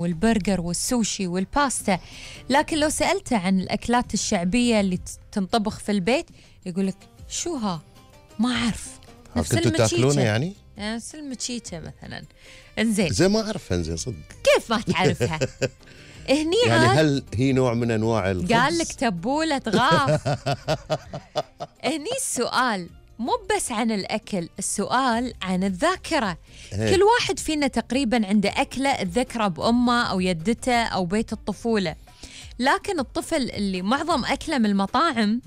والبرجر والسوشي والباستا، لكن لو سألته عن الأكلات الشعبية اللي تنطبخ في البيت يقولك شو ها؟ ما أعرف. نفس كنتوا تاكلونه يعني؟ المتشيتة مثلا. انزين زي ما أعرفها. انزين صدق كيف ما تعرفها؟ هني يعني هل هي نوع من أنواع الخبز؟ قال لك تبولة غاف. هني السؤال مو بس عن الأكل، السؤال عن الذاكرة. كل واحد فينا تقريبا عنده أكلة الذكرى بأمه أو يدته أو بيت الطفولة، لكن الطفل اللي معظم أكله من المطاعم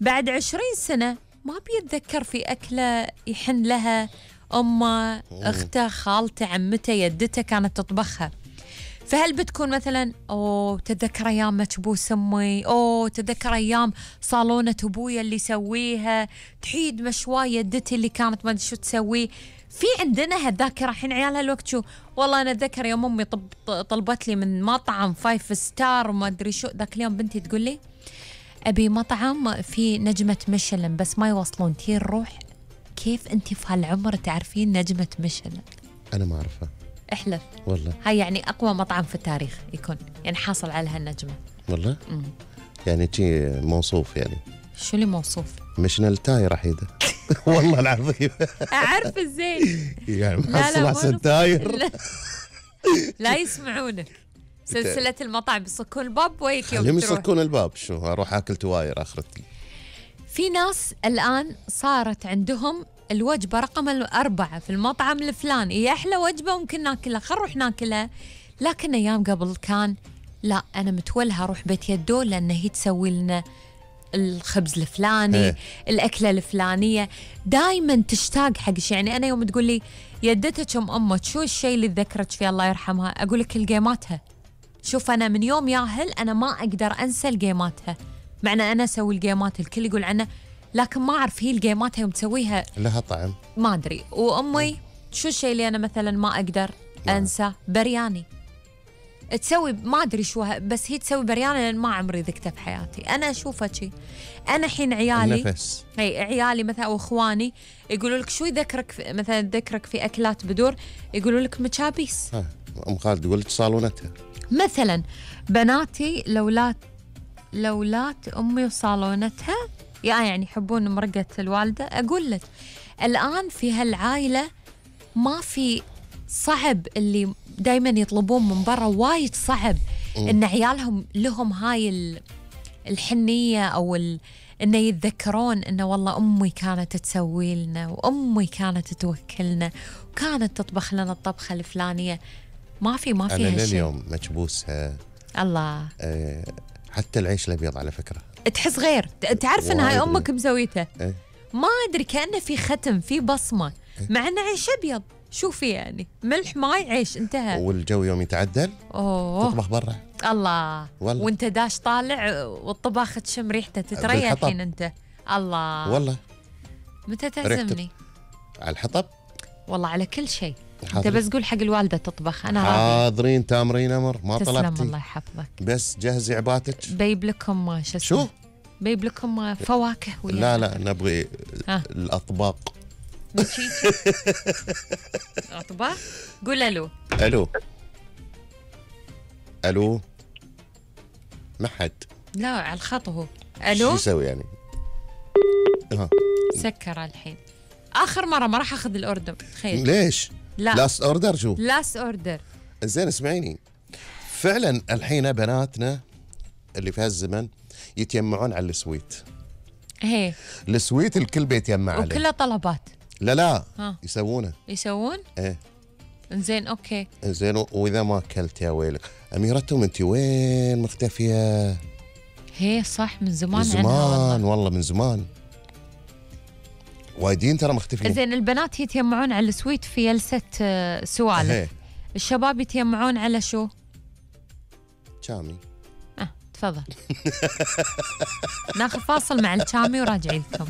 بعد 20 سنة ما بيتذكر في أكلة يحن لها أمه، أخته، خالته، عمته، يدته كانت تطبخها. فهل بتكون مثلا تتذكر أيام مكبوس أمي، تتذكر أيام صالونة أبويا اللي يسويها، تحيد مشواية يدتي اللي كانت ما أدري شو تسويه. في عندنا هالذاكرة. حين عيالها الوقت شو والله أنا أتذكر يوم أمي طلبت لي من مطعم 5 ستار وما أدري شو. ذاك اليوم بنتي تقول لي أبي مطعم في نجمة ميشلان بس ما يوصلون، تي نروح. كيف أنت في هالعمر تعرفين نجمة ميشلان؟ أنا ما أعرفها. احلف والله. هاي يعني أقوى مطعم في التاريخ يكون يعني حاصل على هالنجمة. والله؟ يعني تي موصوف يعني. شو اللي موصوف؟ ميشلان تاير حيدة. والله العظيم. أعرف الزين. يعني محصل أحسن تاير. لا يسمعونك. سلسلة المطاعم يصكون الباب ويك يوم خليهم يصكون الباب. شو أروح أكل تواير آخرتي. في ناس الآن صارت عندهم الوجبة رقم 4 في المطعم الفلاني، هي أحلى وجبة ممكن ناكلها، خل نروح ناكلها. لكن أيام قبل كان لا، أنا متولها أروح بيت يدو لأن هي تسوي لنا الخبز الفلاني، الأكلة الفلانية. دايما تشتاق حق شيء. يعني أنا يوم تقول لي يدتك أمك شو الشيء اللي تذكرت فيه الله يرحمها، أقول لك الجيماتها. شوف أنا من يوم ياهل أنا ما أقدر أنسى الجيماتها، معنى أنا أسوي الجيمات الكل يقول عنها، لكن ما أعرف هي الجيمات يوم تسويها لها طعم ما أدري. وأمي شو الشيء اللي أنا مثلا ما أقدر أنسى؟ برياني. تسوي ما أدري شو بس هي تسوي برياني لأن ما عمري ذقته في حياتي. أنا أشوفها شيء. أنا حين عيالي النفس. هي عيالي مثلا أو إخواني يقولوا لك شو يذكرك مثلا ذكرك في أكلات بدور، يقولوا لك مشابيس. أم خالد تقول لك صالونتها مثلا. بناتي لولات أمي وصالونتها يعني يحبون مرقة الوالدة. أقول لك الآن في هالعائلة ما في، صعب اللي دايما يطلبون من برا، وايد صعب إن عيالهم لهم هاي الحنية أو إنه يتذكرون إنه والله أمي كانت تسوي لنا وأمي كانت توكلنا وكانت تطبخ لنا الطبخة الفلانية. ما في أنا هالشيء. لليوم مكبوسها. الله. حتى العيش الأبيض على فكرة تحس غير. تعرف إن هاي أمك مسويتها. إيه؟ ما أدري كأنه في ختم، في بصمة. مع إنه عيش أبيض شوفي يعني ملح ماي عيش انتهى. والجو يوم يتعدل تطبخ برا. الله والله. وانت داش طالع والطباخ تشم ريحته تتريا الحين انت. الله والله. متى تعزمني؟ على الحطب والله على كل شيء. انت بس قول حق الوالدة تطبخ انا راضي. حاضرين تامرين امر ما طلبتي. تسلم الله يحفظك. بس جهزي عباتك. بيب لكم شو؟ بيب لكم فواكه ويا لا نبغي الاطباق. اطباق. قول الو. الو ما حد. لا على الخط هو. الو شو يسوي يعني؟ سكر الحين. اخر مره ما راح اخذ الاوردر. تخيل. ليش؟ لا لاست اوردر. شو لاست اوردر؟ زين اسمعيني، فعلا الحين بناتنا اللي في هالزمن يتجمعون على السويت. هي السويت الكل بيتجمع عليه وكلها طلبات. لا يسوون ايه. انزين اوكي انزين. واذا ما اكلت يا ويلك اميرتهم انت وين مختفيه؟ هي صح من زمان. من زمان والله من زمان وايدين ترى مختفين. زين البنات يتجمعون على السويت في جلسة سوالف. الشباب يتجمعون على شو؟ شامي. تفضل. ناخذ فاصل مع الشامي وراجعين لكم.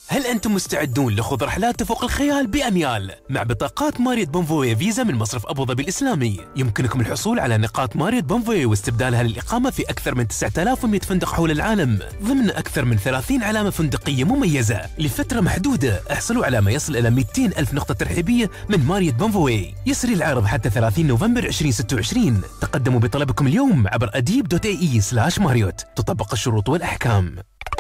هل أنتم مستعدون لخوض رحلات تفوق الخيال بأميال؟ مع بطاقات ماريوت بونفوي فيزا من مصرف أبو ظبي الإسلامي يمكنكم الحصول على نقاط ماريوت بونفوي واستبدالها للإقامة في أكثر من 9100 فندق حول العالم ضمن أكثر من 30 علامة فندقية مميزة لفترة محدودة. احصلوا على ما يصل إلى 200 ألف نقطة ترحيبية من ماريوت بونفوي. يسري العرض حتى 30 نوفمبر 2026. تقدموا بطلبكم اليوم عبر adib.ae/marriott. تطبق الشروط والأحكام.